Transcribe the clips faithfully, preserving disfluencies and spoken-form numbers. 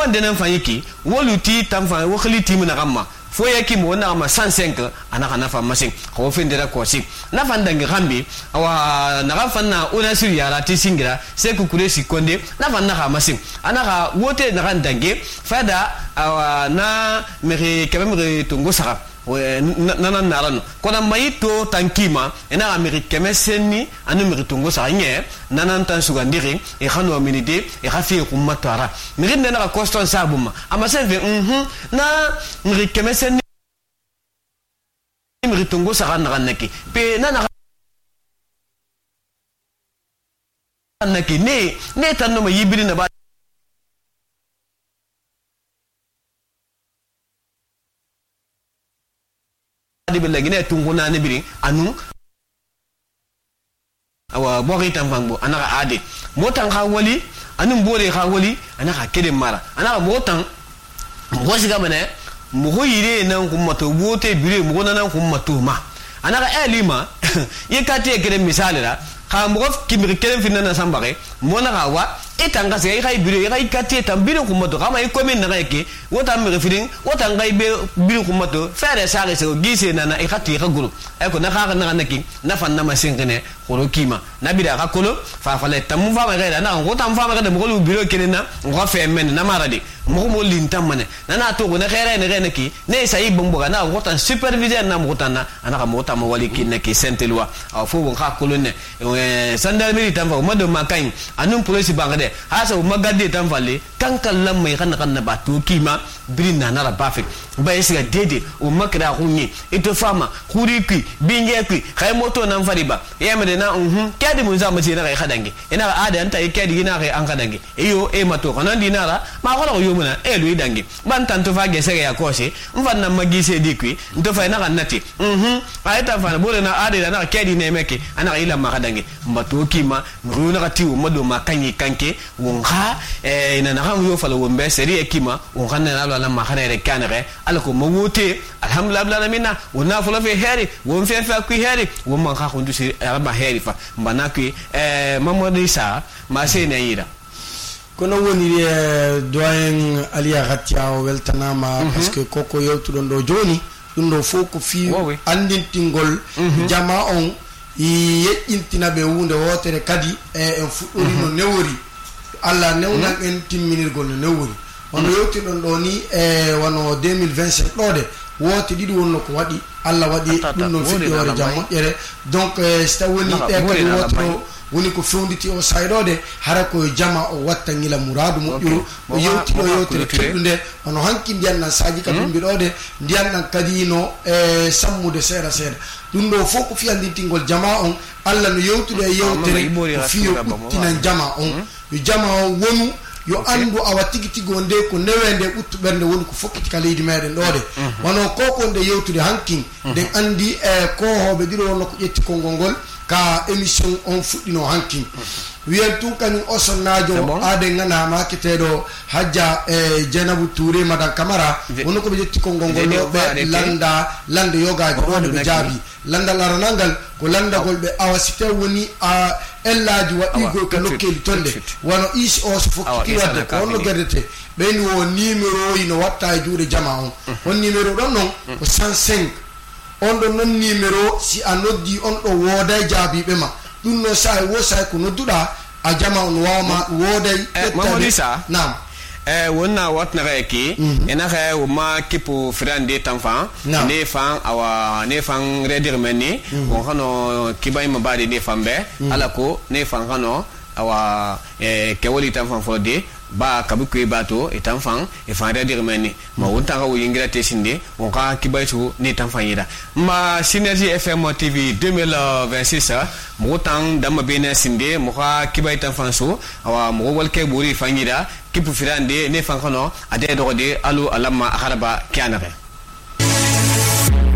wonde nan fan yiki woluti tam fan wo khali tim na gamma fo yaki mo na ma cent cinq ana kana fa masin ko fende da ko si na fan dangi gambi awa na fan na ona siri yara ti singira se ku kure si konde na fan na masin ana ka wote na kan dangi fada awa na mere kemere tungo saka nana narano kona mayito tankima ena amerika meseni anu meritungo sa nye nana tan sugandiri e khano minide e khafi kumatara mirinde na coston sabuma amaseve mhm na amerika meseni meritungo sa kana kanaki pe nana kanaki ne ne tanno ma yibiri na ba bela gine tunguna ne biri anu awa bori tamfango anaka ade motan ka wali anu bore ka wali anaka kede mara anaka motan mo siga mane mo hoyire nan kummato bote bire mo nan kummato ma anaka elima yekati kede misale la ka mo kimir kede finna na sambare mo na wa etanga se ay biro ay kati tam biro kumato kama ay commune na yake wota me refiring wota ngai be biro kumato fere sare se gise na na ikati ka guru ay ko na ka na naki na fan na masingene khoro kima na bida ka kolo fa fa le tamu fa ma ga na wota fa ma ga de mo biro kene na ngo fe men na maradi mo mo lintam mane na na to na khere ne rene ki ne sai bombo ga na wota superviseur na mo tana ana ka mo ta mo wali ki ne ki sentelwa aw fo bon ka kolo ne sandal mi tam fa mo do makai anum police bangade hasa magade tan falle kan kallan mai kan kan ba to kima birin na nara bafik ba yesiga dede o makra hunni ito fama kuriki binge ki khay moto nan fari ba yamade na mhm kadi mun za mace na kai khadange ina ada anta kadi gina kai an khadange iyo e mato kanan dinara ma ko yo muna e lu dange ban tanto fa ge sege ya kose mfan na magise dikwi ndo fa na kanati mhm ayta fa bole na ada na kadi ne meke ana ila ma khadange mbato kima runa kati o modo makanyi kanke wonga eh ina na kan yo fala wombe seri ekima wonga na la ma khana re kanere alako mowote alhamdulillah bla mina wona fala fe heri won fe fa ku heri won man kha khundu si ba heri fa mbana ku eh mamodi sa ma se ne yira kono woni doyen aliya khatia weltanama parce que koko yewtu don do joni dum do foko fi andintingol jama on i yejintina be wunde wotere kadi e en fuddori no newori alla newna en timminirgol no newori on yewti don do ni e wano deux mille vingt-cinq do de wote didi wonno ko wadi alla wadi dum no fiddi wore jammo ere donc sta woni e kadi woto woni ko fonditi o saydode hara ko jama o watta ngila muradu mo yo o yewti do yotere tudunde ono hanki ndian na saji ka dum bidode ndian nan kadi no e sammude sera sera dum do foko fi andintingol jama on alla no yewtude yewtere fi o tinan jama on yo jama on wonu yo andu awa tigi tigo nde ko newende buttu bernde woni ko fokkiti ka leydi meden dode wono koko nde yewtude hankin den andi e ko hobe diro wonno ko jetti kongol ka émission on fuddino hankin wiyen tun kany osonnajo ade ngana ma ketedo hajja e Jenabu Touré madam Camara wonno ko be jetti kongol be landa landa yogaji do be jabi landa laranangal ko landa golbe awasite woni a ellaji wadi go ka lokkeli tonde wono is o so fokki wadde ko wonno gerdete be ni wo numéro yi no watta juure jama on on numéro don non ko cent cinq on do non numéro si anoddi on do woda jaabi be ma dum no sai wo sai ko nodduda a jama on wama woday mamodisa nam eh wonna watna reki ena khay o ma kipo frande tanfan ne fan awa ne fan redir meni on hano kibay mabadi ne fambe alako ne fan hano awa eh kewoli tanfan fode ba kabuko bato etanfan e fan redir meni ma wonta ka yingira tesinde on ka kibaytu ne tanfan yida ma Synergie F M T V deux mille vingt-six mo tan dama bene sinde mo ka kibay tanfan so awa mo walke buri fanyida kipu firande ne fankano ade dogode alu alama akharaba kianare.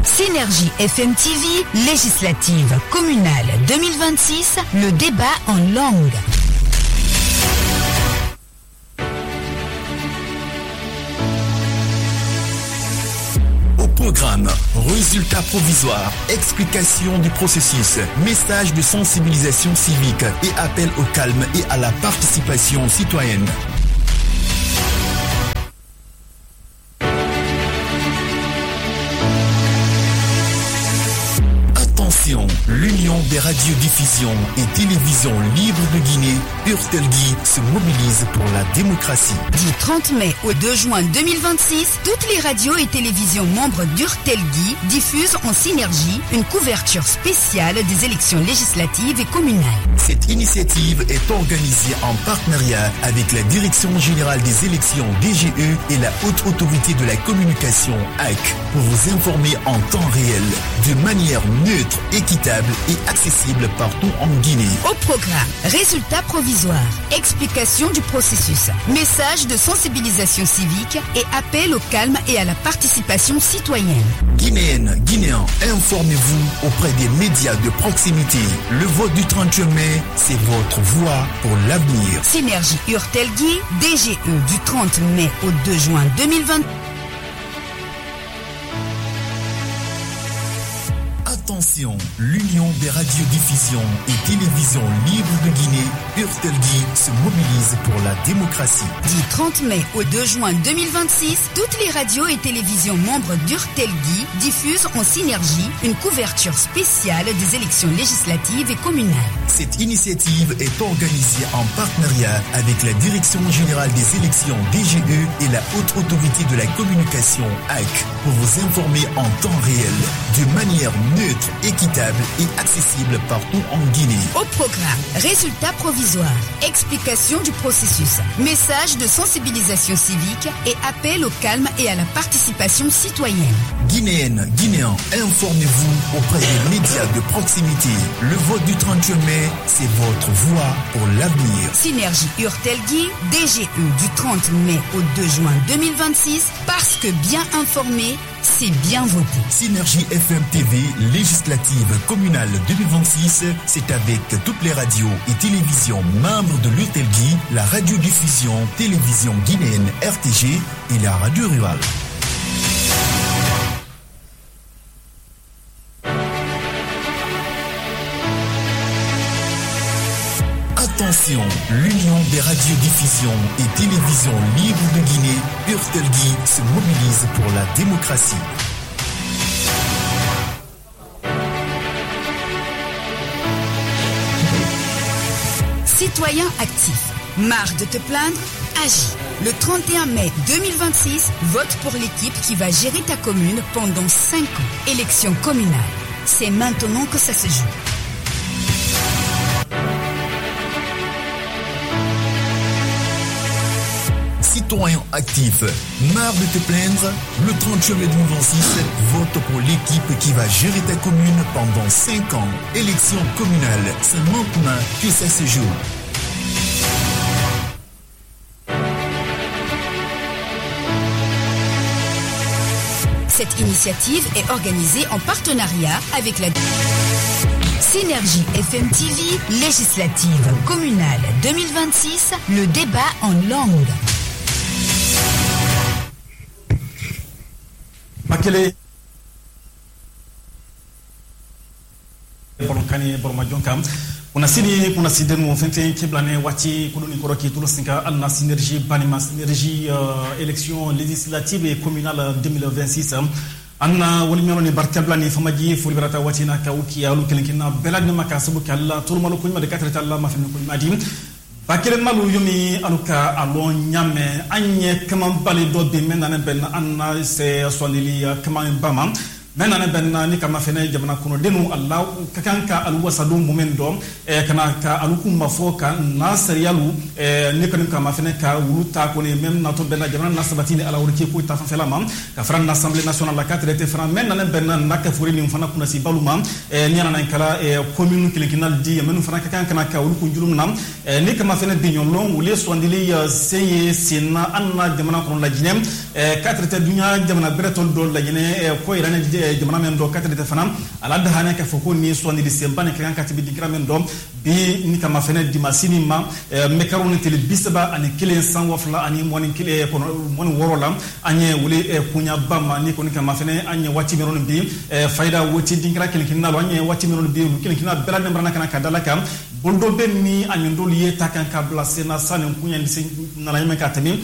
Synergie F M T V législative communale deux mille vingt-six, le débat en langue. Programme, résultats provisoires, explication du processus, message de sensibilisation civique et appel au calme et à la participation citoyenne. l'Union des radiodiffusions et télévisions libres de Guinée, Urtelgui, se mobilise pour la démocratie. Du trente mai au deux juin deux mille vingt-six, toutes les radios et télévisions membres d'Urtelgui diffusent en synergie une couverture spéciale des élections législatives et communales. Cette initiative est organisée en partenariat avec la Direction générale des élections D G E et la Haute Autorité de la Communication A C pour vous informer en temps réel, de manière neutre, équitable et accessible partout en Guinée. Au programme, résultats provisoires, explication du processus, message de sensibilisation civique et appel au calme et à la participation citoyenne. Guinéennes, Guinéens, informez-vous auprès des médias de proximité. Le vote du trente mai, c'est votre voix pour l'avenir. Synergie Urtelgui, D G E du trente mai au deux juin deux mille vingt. Attention, l'Union des radiodiffusions et télévisions libres de Guinée, Urtelgui, se mobilise pour la démocratie. Du trente mai au deux juin deux mille vingt-six, toutes les radios et télévisions membres d'Urtelgui diffusent en synergie une couverture spéciale des élections législatives et communales. Cette initiative est organisée en partenariat avec la Direction générale des élections D G E et la Haute Autorité de la Communication A C pour vous informer en temps réel, de manière neutre, équitable et accessible partout en Guinée. Au programme, résultats provisoires, explication du processus, message de sensibilisation civique et appel au calme et à la participation citoyenne. Guinéennes, Guinéens, informez-vous auprès des médias de proximité. Le vote du trente mai, c'est votre voix pour l'avenir. Synergie Urtelgui, D G E du trente mai au deux juin deux mille vingt-six, parce que bien informé, c'est bien voté. Synergie F M T V législative communale deux mille vingt-six, c'est avec toutes les radios et télévisions membres de l'Urtelgui, la radiodiffusion télévision guinéenne R T G et la radio rurale. Attention, l'Union des radiodiffusions et télévisions libres de Guinée, Urtelgui, se mobilise pour la démocratie. Citoyens actifs, marre de te plaindre? Agis. Le trente et un mai deux mille vingt-six, vote pour l'équipe qui va gérer ta commune pendant cinq ans. Élection communale. C'est maintenant que ça se joue. Citoyens actifs, marre de te plaindre? Le trente mai deux mille vingt-six, vote pour l'équipe qui va gérer ta commune pendant cinq ans. Élection communale, c'est maintenant que ça se joue. Cette initiative est organisée en partenariat avec la Synergie F M T V législative communale deux mille vingt-six, le débat en langue. Makele Bolokani Bormajonkam kuna sini kuna sidenu fente kiblane wati kuluni koroki tulo sinka alna synergie banima synergie euh, élection législative et communale deux mille vingt-six anna woni meloni barkablani famaji fulberata wati na kawki alu kelenkina beladna makasabu kala turmalu kunyma de quatre talla ma fenni kunyma dim bakelen malu yumi aluka alon nyame anye kaman bali do be menana ben anna se sonili kaman bama menana ben ni kama fene jamana kuno denu allah kakanka alwasadu mumen do e kana ka alukum mafoka nasriyalu e ni kan kama fene ka wuluta ko ne mem na to ben jamana nasabatini ala wurki ko ta fa felama ka fran l'assemblée nationale la quatre était fran menana ben nakka furi ni fana kuna si baluma e ni ana kala e commune kilinkinal di menu fana kakanka na ka wuluku julum nam e ni kama fene de nyolon wule sondili seye sina anna jamana kuno la jinem e quatre était dunya jamana bretol do la jine e ko irane jamana men do quatre fana ala da hana ka foko ni so ni disembane kan katibi digramen do bi ni kama fene di masini ma me karoni tele bisaba ani kile san wafla ani moni kile ko moni worola anye wuli kunya bama ni ko ni kama fene anye wati meron bi faida woti dingra kile kinalo anye wati meron bi kile kinalo bela membrana kana kadala kam bondo benni ani ndol yeta kan ka blasena sanen kunya ni na la yeme katami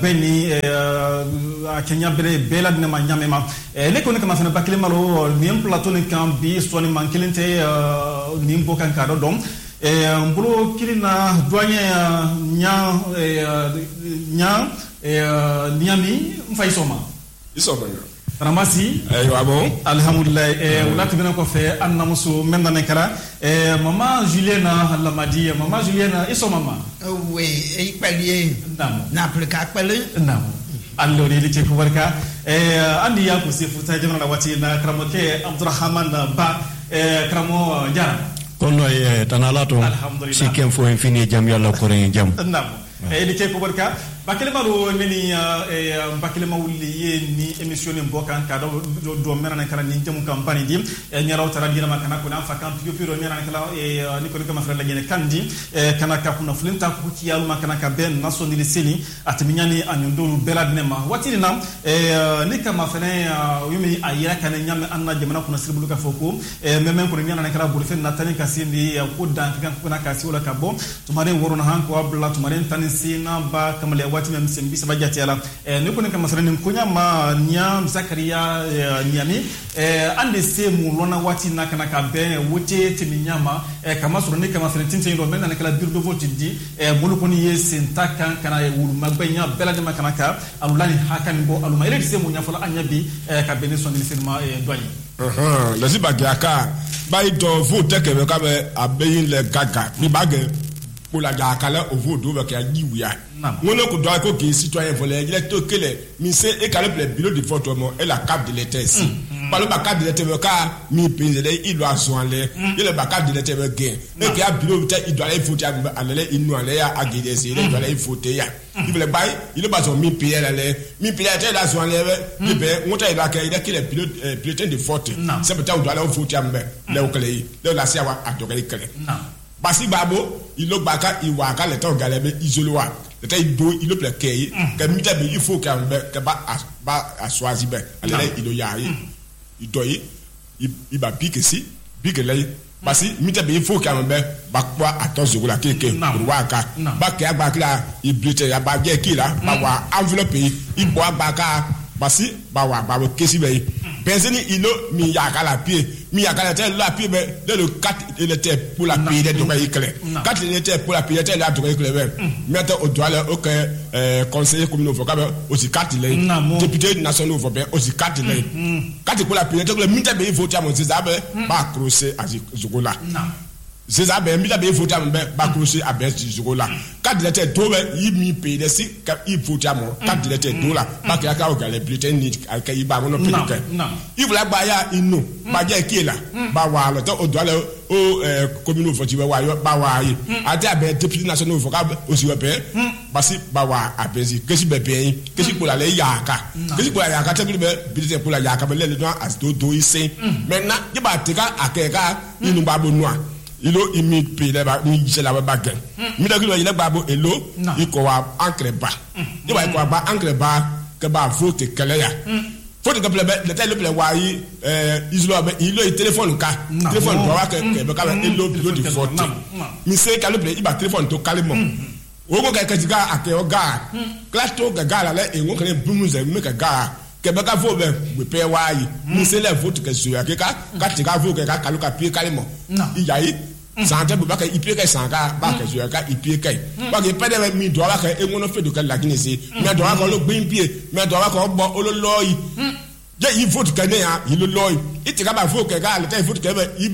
benni Kenya bere bela dina ma nyame ma ne ko ne kama fana bakile malo ni plateau ni kan bi so ni man kelente ni mbokan ka do dom e mbulo kilina doyen nya nya e niami mfay soma isoma Ramasi ayo abo alhamdulillah e wala tibina ko fe anna musu menda ne kala e mama Juliana Lamadi mama Juliana iso mama we e palier nam na plika pale nam allo ni li ko barka e andi ya ko se futa jamana wati na kramoke Abdurrahman ba e kramo jara kono e tanalato sikem fo infini jam yalla ko ren jam nam e li ko barka bakele maro neni e bakele mawli ye ni émission ni bokan ka do do merana kala ni jamu campagne di e nyaraw tara dina makana ko na fa kan piyo piyo merana kala e ni ko ko ma frère la gene kandi e kana ka kuna fulinta ko ci yalu makana ka ben naso ni seli atiminyani anyondolu belad nema watini nam e ni kama fene yumi ayira kana nyame anna jamana kuna sirbulu ka foko e memen ko nyana kala bulu fen natani ka sindi ko dan kan kuna ka si wala ka bo tumare worona han ko abdullah tumare tan sina ba kamale wati mem sembi sabajati ala e ne ko ne kama saranin kunya ma nya Zakaria nyami e ande se mu lona wati nakana ka be wote timinyama e kama soro ne kama saranin tintin do men na kala bureau de vote di e bolu ko ni yesen takan kana e wulu magbanya bela de makana ka alulani hakan bo aluma ile se mu nya fala anyabi e ka bene son ni sirma e doyi uh-huh la ziba gaka ba ito vote ke be ka be abeyin le gaga ni bage pour la dakala au vote do ke agiwia ngono ko do ko ki citoyen volé il est to kele mi se e kale le bureau de vote mo et la carte de l'état si par le carte de l'état ka mi pinzele il doit soinler il le carte de l'état gain et que a bureau il doit aller voter à l'aller il nous aller à guider c'est il doit aller voter ya il veut bail il pas son mi payer l'aller mi payer là soinler il be monta il a qu'il a que le bureau bulletin de vote c'est peut-être on doit aller voter à mbé là au kele là la sia wa atokele kele basi babo il lo baka il wa ka le temps galebe isoloa le temps il do il le plaît kay que mita be il faut que que ba ba a choisi ben allez il do ya il do il ba pique si pique là basi mita be il faut que ben ba kwa attention la keke wa ka ba ke agba kila il blité ya ba ge ki la ba wa enveloppe il boit baka basi ba wa ba kesi be benzeni ilo mi ya kala pied mi ya kala tel la pied be le quatre il était pour la pied de doka ikle quatre il était pour la pied tel la doka ikle be mettre au doigt le OK conseiller communal vocal aussi quatre il député national vocal aussi quatre il quatre pour la pied tel le mita be voter à mon ça be ba crochet à Zogola c'est ça ben mita be voter à mon ba crochet à ben Zogola quatre il était do il mi paye de si il voter à mon quatre il était do là ba ka ka o les bulletins ni ka iba mon pédic il voulait ba ya inu ba je ki là ba wa le to o do le o communal vocal wa yo ba wa yi ati abe député national vocal aussi be basi ba wa abezi kesi be be kesi pour la le yaka kesi pour la yaka te be bulletin pour la yaka be le don as do do isin maintenant je ba te ka akeka inu ba bo noa ilo imi pe le ba ni je la ba gen mi da kilo ile babo elo iko wa ankre ba je ba iko ba ankre ba ke ba vote kele ya vote ke ple le tele ple wa yi eh islo ba ilo i téléphone ka téléphone ba wa ke ke ba ka elo bureau de vote mi se ka le ple i ba téléphone to kalemo o ko ka ka diga ake o ga class to ga ga la le e ngo kele bumuze me ka ga ke ba ka vo be be pe wa yi mi se le vote ke so ya ke ka ka ti ka vo ke ka kalu ka pie kalemo i ya yi sante bu baka ipie kai sanka ba ka so ka ipie kai ba ke pede mi do ba ka e ngono fe do ka la gine si mi do ba ko lo gbin pie mi do ba ko bo olo loyi je yi vote ka ne ya yi lo loyi iti ka ba vote ka le ta vote ka be yi